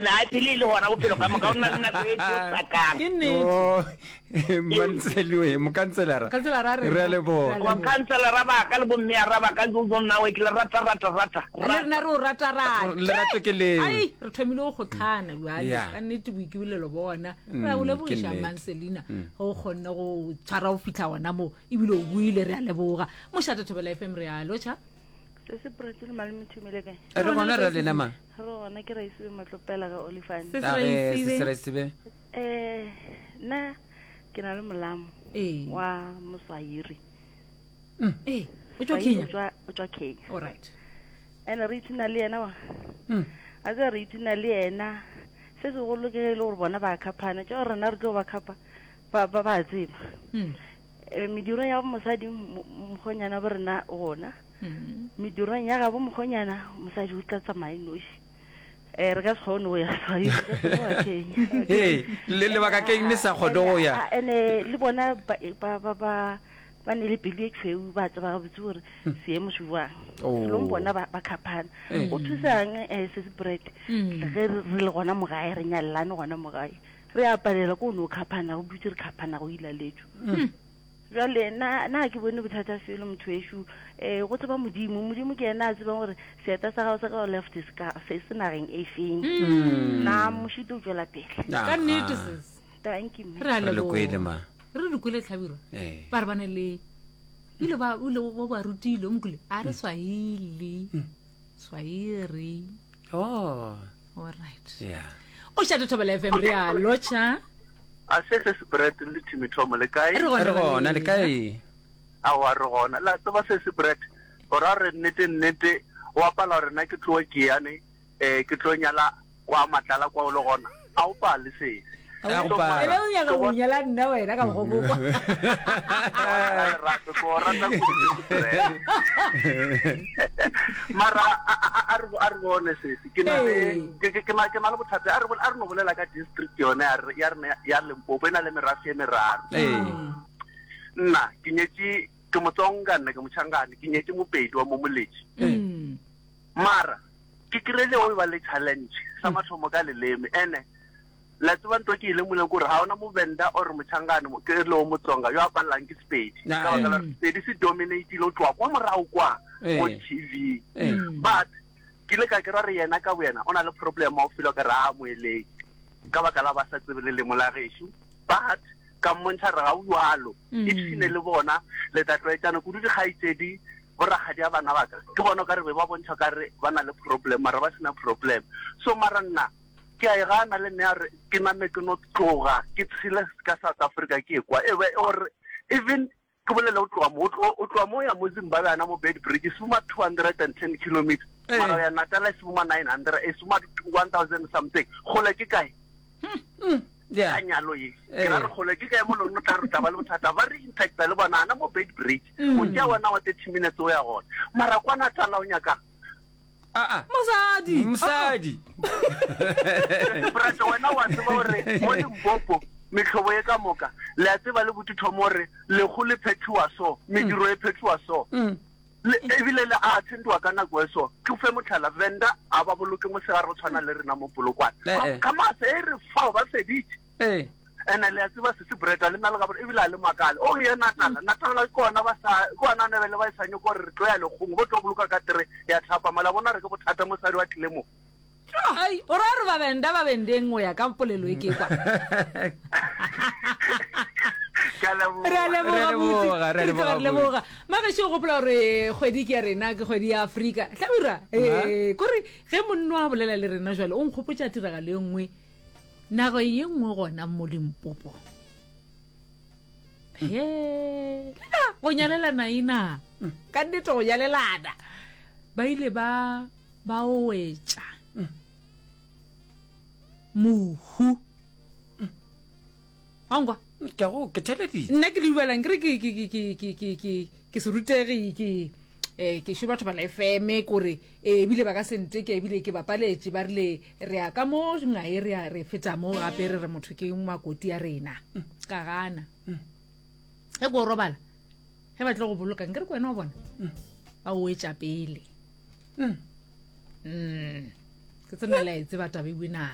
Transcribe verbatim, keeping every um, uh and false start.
A phele e le gona bophelo ka moka, o na le nako e tlo sakang. Ke nnete. Oh, Mantseloe, mokanselara. Mokanselara re. Re a leboga. Bokanselara ba ka le bommeara ba ka, jo nnawe ke le rata rata rata. Le rena re o rata rata. Lerato ke leo. Ai, re thomile go kgotlhana bjale. Yeah. Ka nnete boikibolelo bona. Mm, Re a o ke lebogiša nnete. Manselina ge o kgonne go tshwara go fihla gona mo ebile o buile re a leboga. Mošate Thobela F M re a lotšha. Se se Pretty le malome Thumile kae? Re gona re lena ma. Re gona ke Raisibe Matlopela ga Olifant. Se se A re se Raisibe. se Raisibe. Eh nna ke na le molamo Ee. wa Moswahili. Ee, o tšwa Swahili Kenya. O tšwa o tšwa Kenya. All right. Ene re ipshina le yena wa. Mm. A tseba re ipshina le yena. Se segolo ke ge e le gore bona ba khaphana tša gore rena re tlo ba khapa ba ba ba tseba. Mm. Eh, mediro ya mosadi mo- mokgonyana bo rena gona. Mm. Medirong ya gabo mokgonyana mosadi o tla tsamaya noši. Eh re ka se kgone go ya Swahili, re ka se kgone go ya Kenya. Ee, le lebaka ke eng le sa kgone go ya? A- ene le bona ba ba ba ba ba ne le pelo e tšhweu ba tseba gabotse gore seemo se jwang. Oh. Selong bona ba ba khaphana. Eh. O thusang eh se se bread Mm. ge re re le gona mo gae re nyalelane gona mo gae. Re a palela ko no khaphana go dutse re khaphana go ilaletšo. Jwale nna nna ha ke bone bothata felo motho ešo eh go tseba modimo modimo ke yena a tsebang gore seeta sa gago sa ka left se ka se se nageng e feng na mošito o tšwela pele Ka nnete sis. thank you mme. Re a Re le kwele leboga. ma. Re re kwele Hlabirwa. Ee. Ba re ba ne le ile ba o ile ba ba rutile o mokule a re Swahili. Swahili. Oh. All right. Yeah. O šate Thobela F M re a lotšha. A se se se bread le Timmy Tom le kae? Re gona Re gona le kae? Aowa re gona. La tseba se se bread. O ra re nnete nnete o apala gore nna ke tloe ke yane eh ke tlo nyala kwa matlala kwa o le gona. A o pale sesi. A go pala. Ene o nyaka go nyala nna wena ka mokgwa o kwa. Lerato ke o rata kudu se bread. Mara a a- a re a re bone sesi. Ke na le Ee. ke ke- ke na ke na le bothata a re bol- a re no bolela ka district yone ya re ya rena ya Limpopo e na le merafe e meraro. Ee. Nna ke nyetše ke Motsonga nna ke Motšhangane ke nyetše Mopedi wa mo Moletši. Mm. Mara ke kry-ile o e ba le challenge sa mathomo ka leleme ene la tseba ntho ke ile mole kore ga ona Movenda or Motšhangane mo- ke le o Motsonga yo a palelang ke Sepedi Ah, ka baka la eh. gore Sepedi se dominatile o tloga kwa morago kwa Eh. mo T V Eh. but ke ile ka kry-a re yena ka boyena o na le problem wa go feel ka re a moeleng ka baka la ba sa tsebe lelemo la gešo but ka mmontšha re ga o jalo ipshine le bona le tla tlwaetšana kudu dikgaetšedi borakgadi a bana ba ka ke bona o ka re be ba bontšha ka re ba na le problem mara ba sena problem so mara nna ke a e gana le nne a re ke name ke no tloga ke tshele ka South Africa ke e kwa e be gore even ke bolele o tloga mo o tlo- o tloga mo ya mo Zimbabwe ana mo Bed Bridge se boma two hundred and ten kilometers Eh. mara o ya Natal se boma nine hundred e se boma one thousand something kgole ke kae Yeah. ka nyalo ye Eh. ke ra re kgole ke kae mo lone o tla re tla ba le bothata ba re intacta le bona ana mo Bed Bridge o tšea wena wa thirty minutes o ya gona mara kwa Natal o nyakang Ah ah. Mosadi. Mosadi. Brate wena wa tseba gore mo Limpopo mehlobo ye ka moka le a tseba le botithomo gore lekgo le phethiwa so mediro e phethiwa so Mm. Le- ebile le a attendiwa ka nako e so ke fe motlhala Venda a ba boloke mosegare go tshwana le rena mo Polokwane Eh, eh. ka masa e re fao ba feditše Ee. ene le a tseba se se breta le nna le gabore ebile a le makale o ye Natala Natala ke ona ba sa ke ona nebele ba e sa nyoko gore re tlo ya lekgong bo tlo boloka ka tere ya thapama la bona re ke bothata mosadi wa tlile mo Ai, o ra re ba benda ba bendeng o ya ka polelo e ke kwa. Ke a leboga. Re a leboga, Re a leboga, re a Butsi. leboga, Re a leboga. Mabeše o gopola gore kgwedi ke ya rena ke kgwedi ya Afrika. Hlabirwa, eh kore ge monno a bolela le rena jwale o nkgopotša tiragalo e nngwe nako ye nngwe gona mo Limpopo. He, lena go nyalelana ena. Ka nnete go nyalelana. Ba ile ba ba wetša mohu. Wa nkwa? Ke a go ke theleditše. Nna ke le dumelang ke re ke ke ke ke ke ke ke ke se rutegi ke eh ke šo batho ba la F M kore eh ebile ba ka se nteke ebile ke bapaletše ba rile re ya ka mo ngae re ya re feta mo gape re re motho ke makoti ya rena ka gana ge ko robala ge ba tle go boloka nkere ke wena wa bona ba o etša pele Mm. Ke tsena la e tseba taba ewe na.